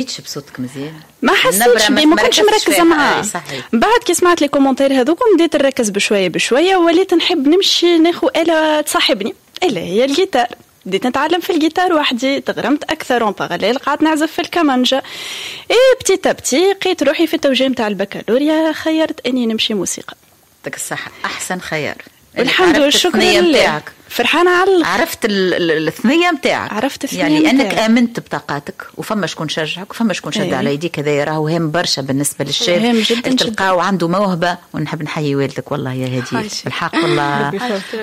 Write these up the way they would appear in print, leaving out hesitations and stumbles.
حسيتش بصوتك مزيان؟ ما حسيتش بيه، ما كنتش مركزه معاه. بعد كي سمعت les commentaires هذوك بديت نركز بشوية بشويه، وليت نحب نمشي ناخذ آلة تصاحبني اللي هي الجيتار. بديت نتعلم في الجيتار وحدي، تغرمت اكثر، en parallèle قعدت نعزف في الكمانجا. et petit à petit لقيت روحي في التوجيه نتاع البكالوريا، خيرت اني نمشي موسيقى. يعطيك الصحة، احسن خيار. والحمد لله، شكرا لله، فرحانة على عرفت الثنية نتاعك. عرفت الثنية. يعني انك امنت بطاقاتك، وفما شكون شجعك وفما شكون شد على يديك، هذا راهو هام برشا بالنسبة للشاب. هام جدا. تلقاو عنده موهبه. ونحب نحيي والدك والله يا هدير، الحق والله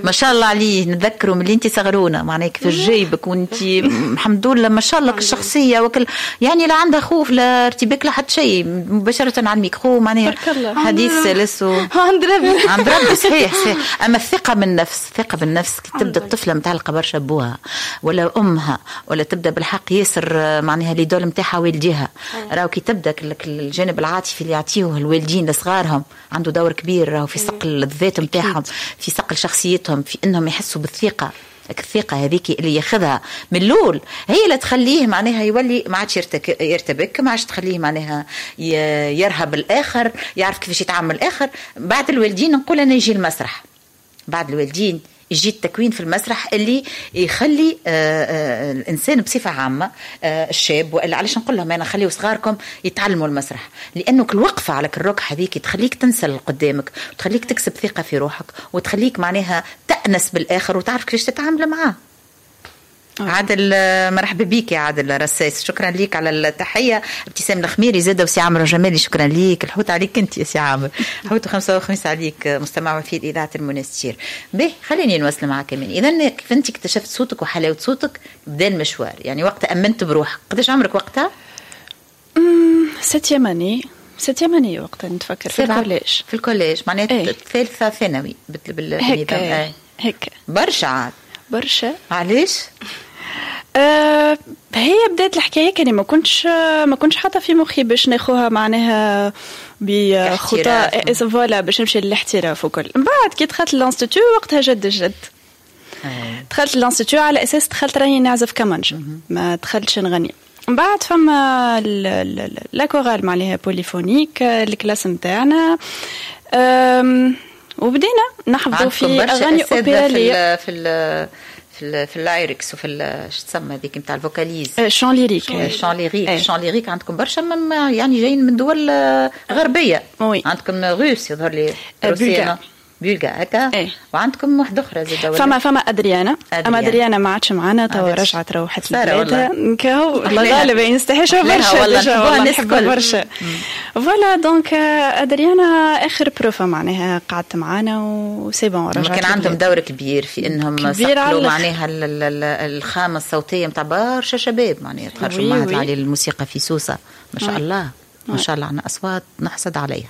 ما شاء الله عليه، نتذكروا من اللي انت صغرونا، معناها كيفاش جايبك وانت الحمد لله ما شاء الله الشخصية وكل، يعني لا عندها خوف لا ارتباك لا حتى شيء، مباشرة على الميكرو معناها حديث سلس عند ربي. عند ربي، صحيح صحيح. اما الثقة بالنفس، الثقة بالنفس كي تبدا الطفلة متعلقه برشا بوها ولا امها ولا تبدا بالحق ياسر معناها l'idole نتاعها والديها، راهو كي تبدا الجانب العاطفي اللي يعطيوه الوالدين لصغارهم عنده دور كبير راهو في صقل الذات نتاعهم، في صقل شخصيتهم، في انهم يحسوا بالثقه. الثقة هذيك اللي ياخذها من الاول هي اللي تخليه معناها يولي ما عادش يرتبك، ما عادش تخليه معناها يرهب الاخر، يعرف كيفاش يتعامل الاخر. بعد الوالدين نقول انا يجي المسرح، بعد الوالدين يجي التكوين في المسرح اللي يخلي الانسان بصفة عامه، الشاب، والا علاش نقول لهم انا خليوا صغاركم يتعلموا المسرح؟ لانه الوقفة على الركح هذيك تخليك تنسى اللي قدامك وتخليك تكسب ثقة في روحك وتخليك معناها تأنس بالاخر وتعرف كيفاش تتعامل معاه. عادل، مرحبا بك يا عادل رساس، شكرا لك على التحيه. ابتسام الخميري زاده وسي عمرو جمالي، شكرا لك. الحوت عليك انت يا سي عامر، حوت 55 عليك، مستمع وفي اذاعة المنستير. به خليني نواصل معك من اذا كيف انت اكتشفت صوتك وحلاوة صوتك، بدا المشوار، يعني وقت امنت بروحك. قداش عمرك وقتها؟ septième année، septième année وقتها نتفكر، في ال collège. في ال collège معناتها الثالثة ثانوي هيك هيك. برشا عاد. برشا. علاش؟ هي بدات الحكاية كان ما كنتش حاطه في مخي باش ناخوها معناها بخطى، voilà، باش نمشي للاحتراف وكل. من بعد كي دخلت l'institut وقتها جد الجد. دخلت l'institut على اساس دخلت راني نعزف كمانجا، ما دخلتش نغني. من بعد فما la chorale معناها polyphonique، ال classe نتاعنا، وبدينا نحفظوا في اغاني اوبراليه في ال lyrics وفي شو تسمى هذيك نتاع ال vocalise؟ chant lyrique. chant lyrique، chant lyrique. عندكم برشا يعني جايين من دول غربيه. oui. عندكم russe يظهر لي، روسيا، bulgare هكا. ايه. وعندكم واحدة أخرى زاد. فما أدريانا، أما أدريانا ما عادش معنا توا، رجعت روحت لبلادها. كهو الله غالب، نستحشها برشا والله، نحبها برشا. voilà، donc أدريانا آخر prof معناها قعدت معانا و c'est bon رجعت. كان عندهم دور كبير في انهم صقلوا معناها الخامة الصوتية نتاع برشا شباب، معناها تخرجوا معهد العالي للموسيقى في سوسة، ما شاء الله ما شاء الله، عندنا اصوات نحسد عليها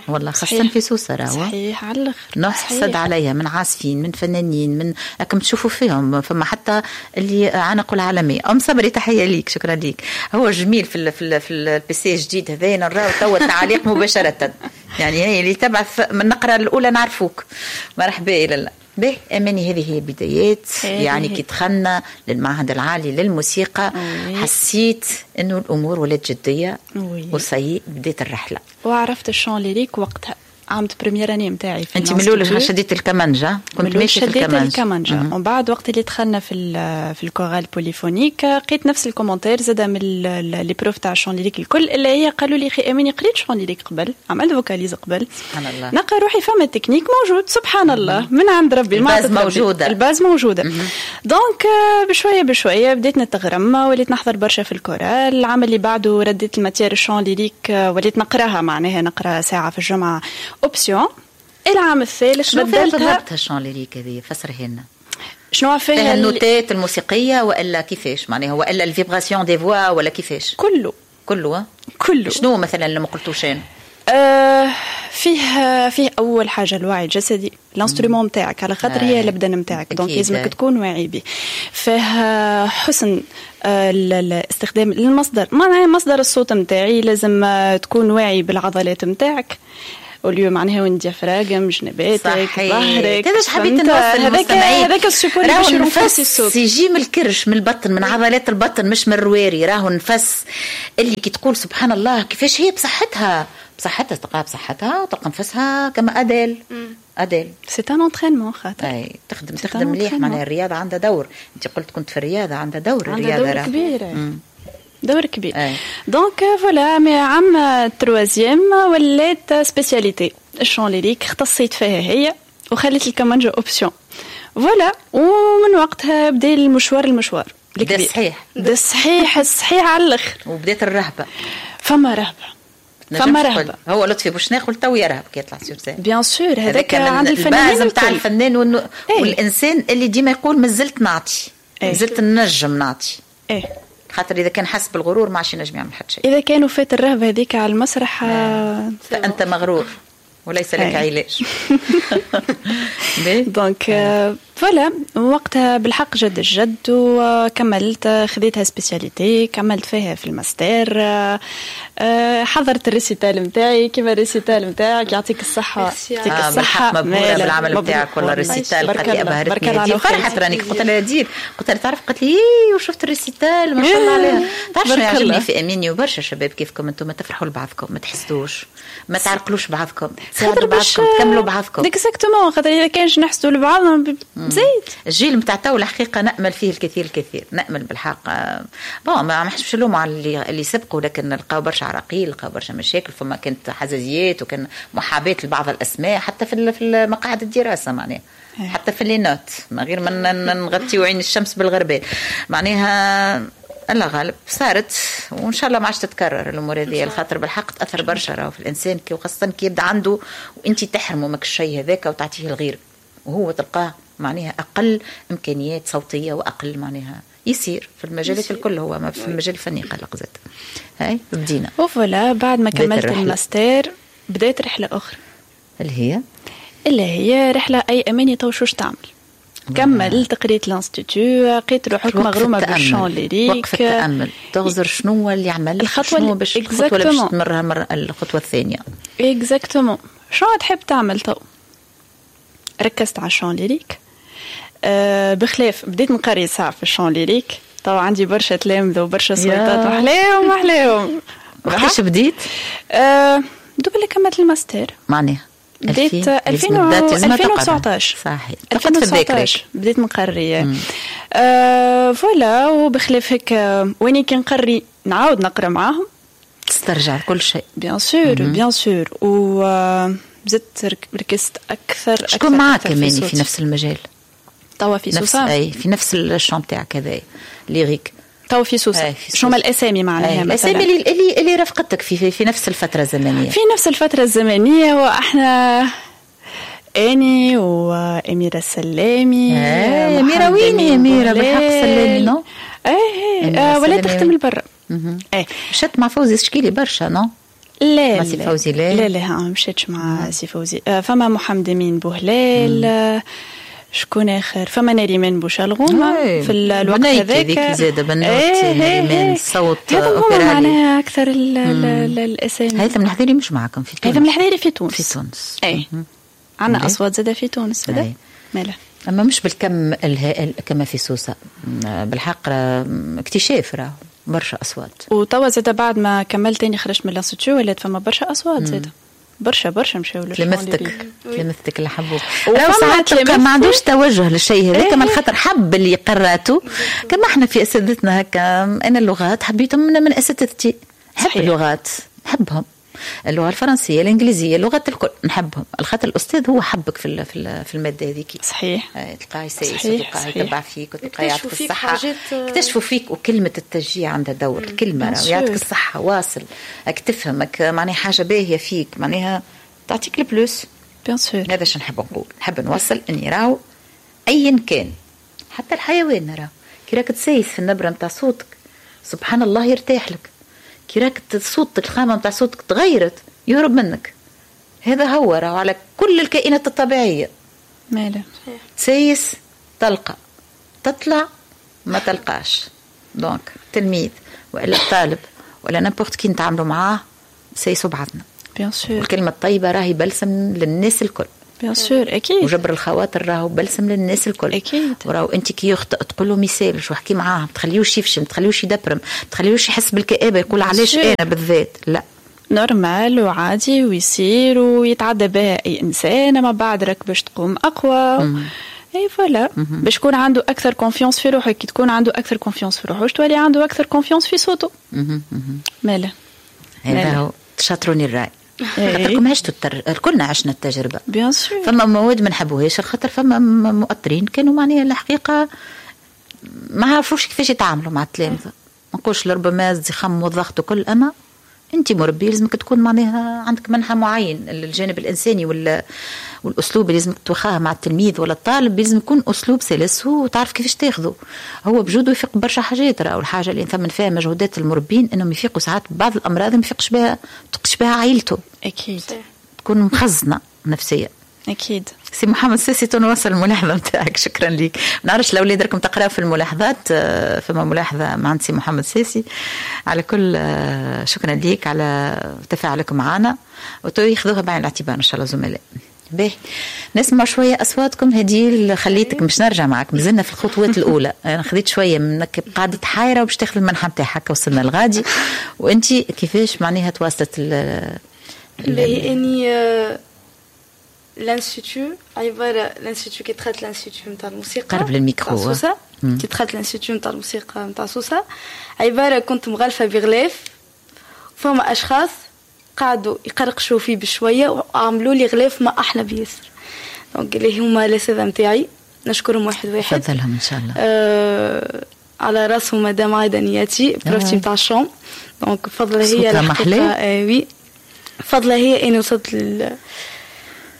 والله، خاصة في سوسة راهو. صحيح على الاخر. نحسد عليها من عازفين، من فنانين، من راكم تشوفوا فيهم، فما حتى اللي عانقوا العالمية. ام صبري تحية ليك، شكرا ليك. هو جميل في ال PC الجديد هذا نراو توا التعاليق مباشرة، يعني هي اللي تبعث من النقرة الأولى نعرفوك. مرحبا لالا. به اماني، هذه هي بدايات، يعني كي دخلنا للمعهد العالي للموسيقى حسيت انه الامور ولات جدية و ça y est بديت الرحله. وعرفت ال chant lyrique وقتها عملت première année نتاعي. في انت من الاول شديت الكمانجا؟ كنت ماشي في الكمانجا. الكمانجا، ومن بعد وقت اللي دخلنا في ال chorale polyphonique لقيت نفس ال commentaire زاد من les profs تاع ال chant lyrique الكل، اللي هي قالوا لي خي اماني قريت chant lyrique قبل، عملت vocalise قبل. سبحان الله. نلقى روحي فما تكنيك موجود، سبحان الله، من عند ربي. ال base موجوده. ال base موجوده. donc بشوية بشوية بديت نتغرم، وليت نحضر برشا في الكورال. العام اللي بعده رديت ال matière chant lyrique، وليت نقراها، معناها نقرا ساعة في الجمعة option. العام الثالث شنو فيها بالضبط ال chant lyrique هذه؟ فسرها لنا. شنو فيها؟ فيها النوتات الموسيقية والا كيفاش معناها؟ والا ال vibration des voix ولا كيفاش؟ كله. كله. كله. شنو مثلا اللي ما قلتوش؟ فيه اول حاجة الوعي الجسدي، l'instrument نتاعك، على خاطر هي البدن نتاعك، donc لازمك تكون واعي به. فيه حسن الاستخدام للمصدر، معناها مصدر الصوت نتاعي، لازم تكون واعي بالعضلات نتاعك. au lieu معناها وين diaphragme، جنباتك، ظهرك. هذا حبيت نوصل للمستمعين، هذاك ال support اللي باش يرونفورسي الصوت. يجي من الكرش، من البطن، من عضلات البطن، مش من الرواري. راهو النفس اللي كي تقول سبحان الله كيفاش هي بصحتها، بصحتها تلقاها بصحتها وتلقى نفسها كما اديل. اديل c'est un entraînement خاطر اي تخدم مليح. معناها الرياضة عندها دور. انت قلت كنت في الرياضة، عندها دور الرياضة، دور كبير. دور كبير. donc voilà، mais عام troisième ولات spécialité ال chant lyrique، اختصيت فيها هي وخليت الكمانجا option. voilà، ومن وقتها بدا المشوار بدا الصحيح، بدا الصحيح الصحيح على الاخر. وبدات الرهبة. فما رهبة، فما رهبة. هو لطفي بوشناق تو يرهب كي يطلع sur scène. bien sûr، هذاك عند الفنانين نتاع الفنان والانسان اللي ديما يقول مازلت نعطي، مازلت نجم نعطي. ايه، خاطر اذا كان حس بالغرور ما عادش ينجم يعمل حتى شيء. اذا كانوا فات الرهبة هذيك على المسرح فانت مغرور وليس لك علاج. donc voilà، وقتها بالحق جد الجد وكملت، خذيتها spécialité، كملت فيها في الماستر. حضرت ال récital نتاعي كيما ال récital نتاعك، يعطيك الصحة. يعطيك الصحة، مبهورة بالعمل نتاعك والله. ال récital قالت لي أبهرتني، فرحت راني قلت لها دير، قلت لها تعرف، قالت لي وشفت ال récital ما شاء الله عليها. تعرف شنو يعجبني في أميني وبرشا شباب كيفكم انتم، تفرحوا لبعضكم، ما تحسدوش، ما تعرقلوش بعضكم، تساعدوا بعضكم، تكملوا بعضكم. exactement، خاطر إذا كانش نحسدوا لبعضنا زيد. الجيل نتاع تو الحقيقة نأمل فيه الكثير الكثير، نأمل بالحق. bon ما نحبش نلوموا على اللي سبقوا، لكن لقاو برشا عراقيل، لقاو برشا مشاكل، فما كانت حزازيات وكان محاباة لبعض الأسماء حتى في مقاعد الدراسة، معناها حتى في les notes، من غير ما نغطيو عين الشمس بالغربال، معناها الله غالب صارت، وان شاء الله ما عادش تتكرر الامور هذه، الخاطر بالحق تاثر برشا راهو في الانسان، كي وخاصة كي يبدا عنده وانت تحرمه ماك الشيء هذاك وتعطيه الغير، وهو تلقاه معناها اقل امكانيات صوتية واقل معناها يصير في المجالات الكل، هو ما في المجال الفني قلق زاد. هاي بدينا و voilà. بعد ما كملت الماستر بديت رحله اخرى اللي هي رحله اي اماني تو شوش تعمل. كملت قريت l'institut، لقيت روحك مغرومه بال chant lyrique. وقف التامل، تغزر شنو اللي عمل، الخطوة باش الخطوة اللي باش تمرها الخطوة الثانية. exactement، شنو تحب تعمل تو؟ ركزت على ال chant lyrique. بخلاف بديت نقري ساعة في ال chant lyrique، طبعا عندي برشا تلامذه وبرشا صويتات وحلاهم وحلاهم. وقتاش بديت؟ دوب اللي كملت الماستر معناها بديت 2019. صحيح، 2019 بديت نقري. voilà، وبخلاف هيك واني كي نقري نعاود نقرا معاهم، تسترجع كل شيء. bien sûr bien sûr. و زدت ركزت اكثر. شكون معاك كمان في نفس المجال؟ توا في سوسة. اي في نفس ال chant تاعك هذا lyrique. توا في سوسة. شو هما الاسامي معناها؟ الاسامي اللي رافقتك في نفس الفترة الزمنية. في نفس الفترة الزمنية، واحنا اني واميره السلامي. اميره وين اميره بالحق السلامي؟ non ايه ولا تخدم البر. ايه مشات مع فوزي شكيلي برشا non؟ لا مع سي فوزي لا لا لا ما مشيتش مع سي فوزي. فما محمد امين بوهلال، شكون اخر؟ فما نريمان بوشالغومه في الوقت هذاك زاد بنوت نريمان صوت اوبرالي. معناها اكثر الاسامي. هيثم الحذيري مش معكم في تونس؟ هيثم الحذيري في تونس. في تونس اي عندنا اصوات زاده في تونس زاده مالا، اما مش بالكم الهائل كما في سوسة. بالحق اكتشاف راه برشا اصوات. وتوا زاده بعد ما كملت تاني خرجت من l'institut ولات فما برشا اصوات زاده، برشا برشا مشاو تلمذتك اللي حبوك. لو ساعات ما عندوش توجه للشيء هذاك من خاطر حب اللي قراته، كما احنا في اساتذتنا هكا. انا اللغات حبيتهم من اساتذتي، نحب اللغات، نحبهم، اللغة الفرنسية، الانجليزية، اللغات الكل نحبهم، الخاطر الاستاذ هو حبك في في المادة هذيك. صحيح، تلقاه يسيس وتلقاه يتبع فيك وتلقاه يعطيك الصحة، اكتشفوا فيك. وكلمه التشجيع عندها دور، الكلمة يعطيك الصحة، واصل، راك تفهمك، معناها حاجة باهيه فيك، معناها تعطيك ال plus. bien sûr، هذا شنو نحب نقول، نحب نوصل اني راهو ايا كان، حتى الحيوان راهو كي راك تسيس في النبرة نتاع صوتك سبحان الله يرتاح لك، كي راك صوتك الخامة نتاع صوتك تغيرت يهرب منك. هذا هو راهو على كل الكائنات الطبيعية. ماله تسيس تلقى، تطلع ما تلقاش. donc تلميذ والا طالب ولا n'importe qui نتعاملوا معاه سيسوا بعضنا. bien sûr. والكلمة الطيبة راهي بلسم للناس الكل. bien sûr، اكيد. وجبر الخواطر راهو بلسم للناس الكل. اكيد. وراهو انت كي يخطئ تقول له ميسالش وحكي معاه، ما تخليوش يفشل، ما تخليوش يدبرم، ما تخليوش يحس بالكآبه، يقول علاش انا بالذات. لا، normal وعادي ويصير ويتعدى بها اي انسان، اما بعد راك باش تقوم اقوى. اي voilà، باش يكون عنده اكثر confiance في روحه. كي تكون عنده اكثر confiance في روحه تولي عنده اكثر confiance في صوته. مالا هذا هو، تشاطروني الراي، خاطركم عشتوا كلنا عشنا التجربه. bien sûr. فما مواد ما نحبوهاش، خاطر فما مؤطرين كانوا معناها الحقيقة ما عرفوش كيفاش يتعاملوا مع التلامذه. ما نقولش لربما الزخم والضغط وكل، اما انت مربي لازمك تكون معناها عندك منحى معين. الجانب الانساني ولا والاسلوب اللي لازمك توخاه مع التلميذ ولا الطالب لازم يكون اسلوب سلس وتعرف كيفاش تاخذه. هو بجوده يفيق برشا حاجات. راهو الحاجة اللي نثمن فيها مجهودات المربين انهم يفيقوا ساعات بعض الامراض ما يفيقش بها، تفيقش بها عائلته. اكيد. تكون مخزنة نفسيا. اكيد. سي محمد ساسي، تنوصل الملاحظة نتاعك، شكرا لك. ما نعرفش الاولاد راكم تقراو في الملاحظات، فما ملاحظة مع عند سي محمد ساسي. على كل شكرا لك على تفاعلك معنا، وتو ياخذوها بعين الاعتبار ان شاء الله زملاء. باهي، نسمع شوية اصواتكم. هديل، خليتك مش نرجع معك، مازلنا في الخطوات الاولى. انا خذيت شوية منك، قعدت حايره وباش تاخذ المنحة نتاعك، وصلنا لغادي. وانت كيفاش معناها تواصلت؟ باهي، اني l'institut عبارة l'institut، كي دخلت l'institut نتاع الموسيقى قرب للميكرو. سوسه، كي دخلت l'institut نتاع الموسيقى نتاع سوسه، عبارة كنت مغلفه بغلاف، فما اشخاص قعدوا يقرقشوا فيه بشوية وعملوا لي غلاف ما احلى بياسر. donc اللي هما الاساتذة نتاعي نشكرهم واحد واحد. تفضلهم ان شاء الله. على راسهم مدام عايدة نياتي، prof تي نتاع ال chant. donc فضلها هي الحقيقه، oui، فضلها هي اني وصلت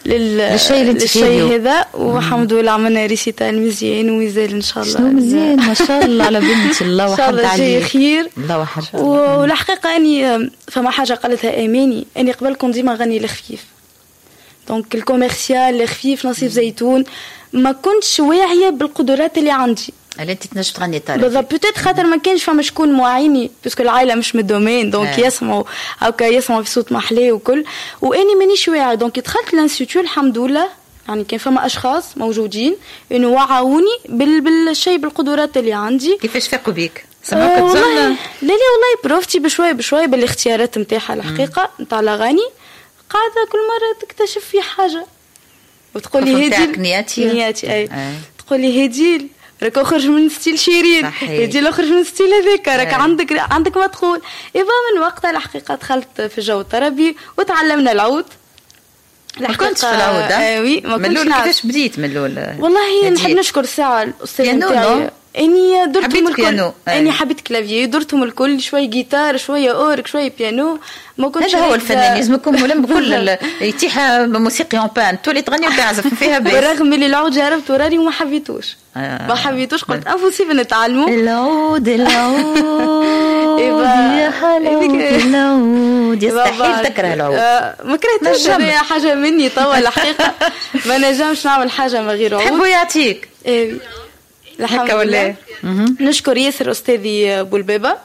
للشيء اللي انت للشيء هذا، والحمد لله عملنا récital مزيان ومازال ان شاء الله. شنو مزيان، ما شاء الله على بنتي، الله وحد عليك. ان شاء الله خير. الله وحد. والحقيقة اني فما حاجة قالتها اماني، اني قبل كنت ديما نغني الخفيف، donc ال commercial الخفيف، نصيف زيتون، ما كنتش واعية بالقدرات اللي عندي. اللي انت تنجم تغني طربي. بالضبط، peut-être خاطر ما كانش فما شكون معيني، parce que العائلة مش من ال domaine، donc يسمعوا هكا، يسمعوا في صوت محلي وكل، واني مانيش واعية. donc دخلت l'institut، الحمد لله، يعني كان فما اشخاص موجودين انه وعوني بالشيء، بالقدرات اللي عندي. كيفاش فاقوا بيك؟ سمعوك والله لا لا، والله prof تي بشوية بشوية بالاختيارات نتاعها الحقيقة نتاع الاغاني، قاعدة كل مرة تكتشف في حاجة وتقول لي هديل. نياتي. نياتي، اي. تقول لي هديل راك اخرج من style شيرين، هديل اخرج من style هذاك، راك عندك ما تقول. ايوا، من وقتها الحقيقة دخلت في الجو الطربي وتعلمنا العود. ما كنتش في العود؟ آه oui، ما كنتش. من كيفاش بديت من الاول؟ والله نحب نشكر ساعة الاستاذ نتاعي، اني درتهم الكل. اني حبيت clavier، درتهم الكل، شوي جيتار، شوية اورك، شوية بيانو. ما كنتش. هذا هو الفنان، لازم يكون ملم بكل، يتيح موسيقي en panne، تولي تغني وتعزف فيها. بس بالرغم اللي العود جربت وراني وما حبيتوش، ما حبيتوش، قلت impossible نتعلمه. العود العود يا حلاوة العود، يستحيل تكره العود. ما كرهتوش، حاجة مني توا الحقيقه، ما نجمش نعمل حاجة من غير عود. تحبوا يعطيك. ايه، هكا ولا؟ نشكر ياسر استاذي بولبابا،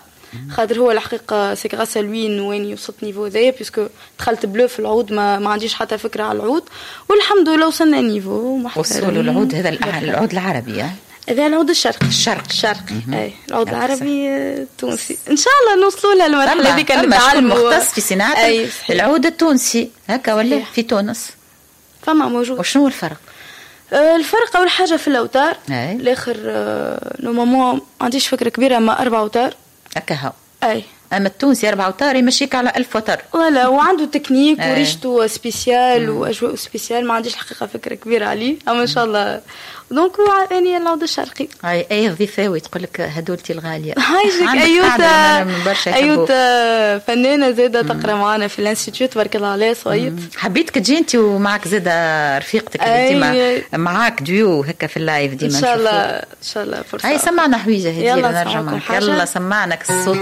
خاطر هو الحقيقة c'est grâce à lui وين وصلت niveau ذا، puisque دخلت bleu في العود، ما عنديش حتى فكرة على العود، والحمد لله وصلنا niveau محترم. وصلوا العود هذا، العود العربي؟ هذا العود الشرقي. الشرقي. الشرقي، اي، العود العربي التونسي ان شاء الله نوصلوا لها المرحلة هذيك. نتعلموا. مختص في صناعة العود التونسي هكا ولا في تونس؟ فما موجود. وشنو الفرق؟ الفرق اول حاجة في الاوتار. الاخر normalement ما عنديش فكرة كبيره، ما اربع اوتار. هكا هو. اي. اما التونسي اربع اوتار يمشيك على 1000 وتر. voilà، وعنده تكنيك وريشته spécial واجواء spécial، ما عنديش الحقيقة فكرة كبيرة عليه، اما ان شاء الله. donc اني العود الشرقي. اي اي، الضيفاوي تقول لك هدولتي الغاليه. هايجك ايوتا، ايوتا فنانة زاده تقرا معنا في l'institut، تبارك الله عليها صغير. حبيتك تجي انت ومعك زاده رفيقتك اللي ديما معاك ديو هكا في ال live ديما. ان شاء الله، ان شاء الله فرصه. هاي سمعنا حويجه هديل، نرجع معك. يلا سمعنا الصوت.